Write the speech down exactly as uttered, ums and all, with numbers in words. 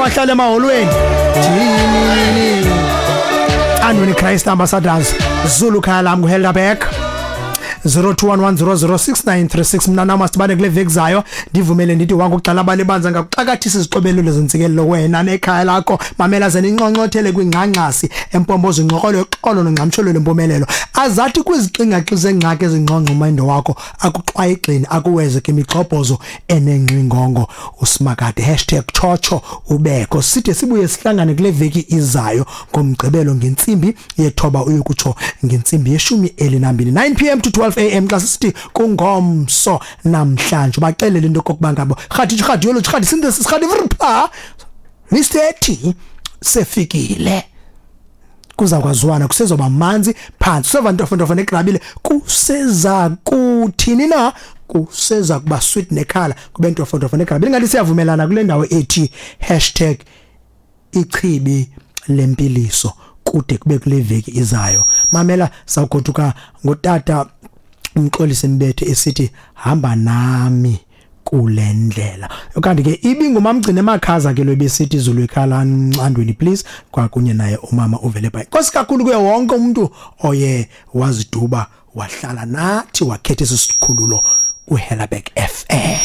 wahlala emaholweni. Thini Andweni Christ Ambassadors, Zulu khaya lam kuHelderberg, zero two one one zero zero six nine three six. Mna nam masibane kule veki zayo. Ndivumele ndithi wangu kuxala balibanza ngakuxakathisa izixobelelo zentsikelelo wena nekhaya lakho. Mamela ze ninqonqothele kwingxangxasi empompozo inxokolo yoxolo nongqamsholo lempumelelo, azathi kwizixingaxi zengxaki ezingqongqo umindo wakho akuxwayixini akuweze ke imigxobhozo enengxingongo usimakade. Hashtag chocho ubekho. Side sibuye sihlangane kule veki izayo ngomgqibelo ngentsimbi yethoba uyokutsho ngentsimbi yeshumi elinambini, nine p m to twelve a m, xa sisithi kungomso namhlanje. Baxelele into kokuba ngabo rhadi rhadi yolo rhadi synthesis rhadi vrpa Mister T sefikile, kuza kwaziwana, kusezoba manzi phansi, kuseva ntofontofo negrabile, kuseza kuthini na, kuseza kuba sweet nekhala kube ntofontofo negrabile. Ngathi siyavumelana kule ndawo ethi hashtag ichibi lempiliso kude kube kule veki izayo. Mamela, sawugoduka ngotata uMxolisi Mbethe esithi hamba nami kule ndlela. Kanti ke ibingumamgcine emakhaza ke lo besithi izulu ikhala Andweni please, kwakunye naye umama uvele bhayi. Nkosi kakhulu kuye wonke umuntu oye waziduba wahlala nathi wakhetha isikhululo uHellerberg F M.